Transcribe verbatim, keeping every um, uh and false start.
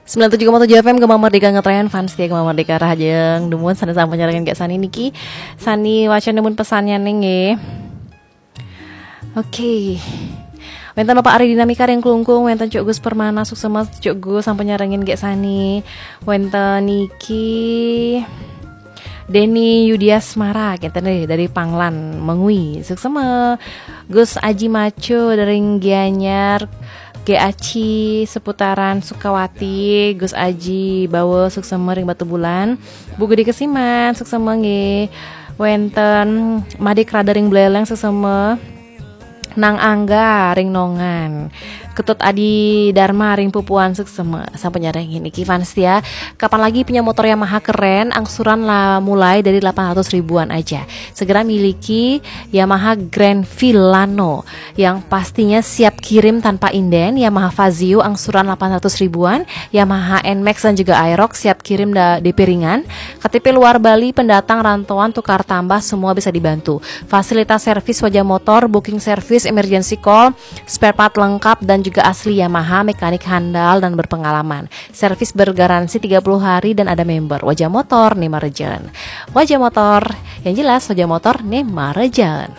Sembilan tujuh koma tujuh F M Gema Merdeka ngetren, fans setia Gema Merdeka rahajeng. Dumun sane sampun nyarengin Gek Sani niki. Sani waca dumun pesannya ning nggih. Oke. Wenten Bapak Ari Dinamika ring Klungkung, wenten Cuk Gus Permana, suksema Cuk Gus sampun nyarengin Gek Sani. Wenten niki Denny Yudiasmara, kita nih dari Panglan Mengwi. Suksema Gus Aji Maco dari Gianyar, G Aci seputaran Sukawati, Gus Aji Bawa suksema ring Batubulan. Bu Gede Kesiman, suksema nggih. Wenten Made Krada ring Buleleng, suksema. Nang Angga ring Nongan. Ketut Adi Dharma ring Pupuan, suksema sampun nyarengin niki fans setia. Kapan lagi punya motor Yamaha keren, angsuran lah mulai dari delapan ratus ribuan aja. Segera miliki Yamaha Grand Filano yang pastinya siap kirim tanpa inden, Yamaha Fazio angsuran delapan ratus ribuan, Yamaha Nmax dan juga Aerox siap kirim da- D P ringan. K T P luar Bali, pendatang, rantauan, tukar tambah, semua bisa dibantu. Fasilitas servis Wajah Motor, booking service, emergency call, spare part lengkap dan juga asli Yamaha, mekanik handal dan berpengalaman. Servis bergaransi tiga puluh hari dan ada member. Wajah Motor, nih marejen. Wajah Motor, yang jelas Wajah Motor, nih marejen.